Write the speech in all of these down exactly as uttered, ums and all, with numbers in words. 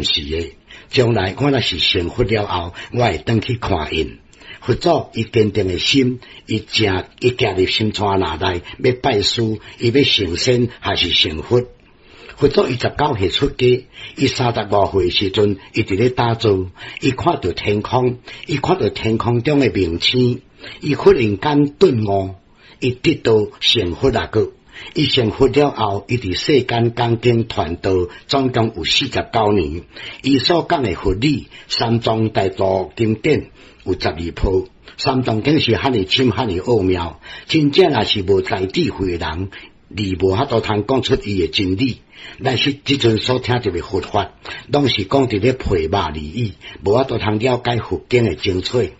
暫時的。將來我若是成佛了後，我會轉去看𪜶。佛祖伊堅定的心，伊誠伊行入心肝內欲拜師，伊欲成仙還是成佛？佛祖伊十九歲出家，伊三十五歲時陣，伊佇咧打坐，伊看著天空，伊看著天空中的明星，伊忽然間頓悟，伊得道成佛啊！閣，伊成佛了後，伊佇世間講經傳道，總共有四十九年。伊所講的佛理，三藏大部經典有十二部。三藏經是遐爾深、遐爾奧妙，真正若是無大智慧的人，你無法度通講出伊的真理。但是這陣所聽著的佛法，攏是講佇咧皮肉而已，無法度通了解佛經的精粹。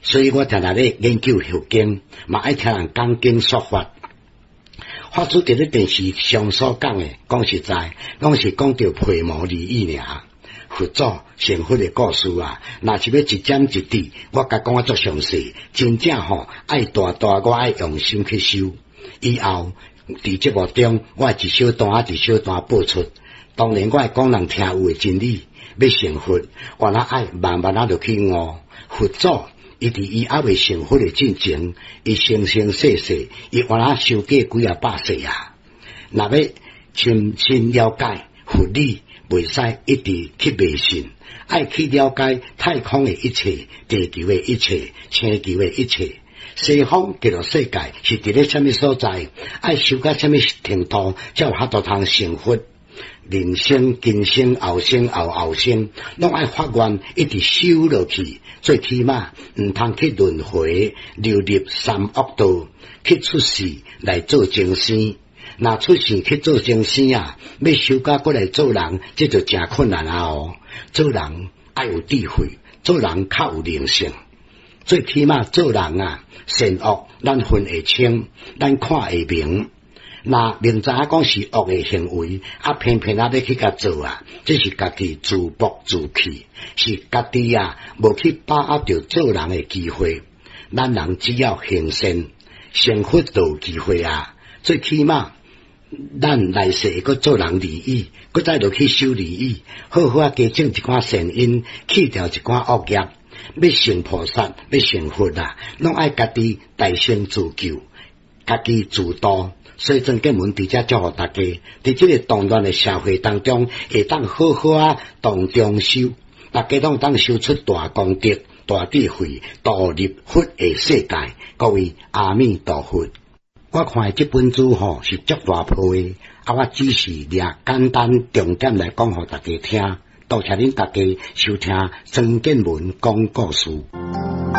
所以我定定咧研究佛經，嘛愛聽人講經說法。法師佇咧電視上所講的，講實在，攏是講著皮毛而已爾。佛祖成佛的故事啊，若是欲一點一滴，我共講啊足詳細，真正吼愛大大，我愛用心去修。以後佇節目中，我一小段仔一小段播出。當然，我會講人聽有的真理，欲成佛，我若愛慢慢仔落去悟。佛祖伊佇伊猶未成佛的進前，伊生生世世，伊原來修過幾仔百世啊。若欲深深了解佛理，袂使一直去迷信，愛去了解太空的一切、地球的一切、星球的一切。西方極樂世界是佇咧啥物所在？愛修到啥物程度，才有法度通成佛？人生、今生、後生、後後生，攏愛發願一直修落去，最起碼毋通去輪迴，流入三惡道，去出世來做眾生。若出世去做眾生啊，欲修到閣來做人，這就誠困難啊！哦，做人愛有智慧，做人較有靈性。最起碼做人啊，善惡咱分會清，咱看會明。若明知影講是惡的行為，啊偏偏仔欲去共做啊，這是家己自暴自棄，是家己啊無去把握著做人的機會。咱人只要行善，成佛就有機會啊！最起碼咱來世會閣做人而已，閣再落去修而已，好好仔加種一寡善因，去掉一寡惡業。欲成菩薩，欲成佛啊，攏愛家己大乘自救，家己自度。所以鄭建文佇遮祝福大家，佇這個動亂的社會當中，會當好好仔當中修，大家攏當修出大功德、大智慧，導入佛的世界。各位阿彌陀佛。我看的這本書吼是足大部的，啊，我只是掠簡單重點來講予大家聽。多謝恁大家收聽曾建文講故事。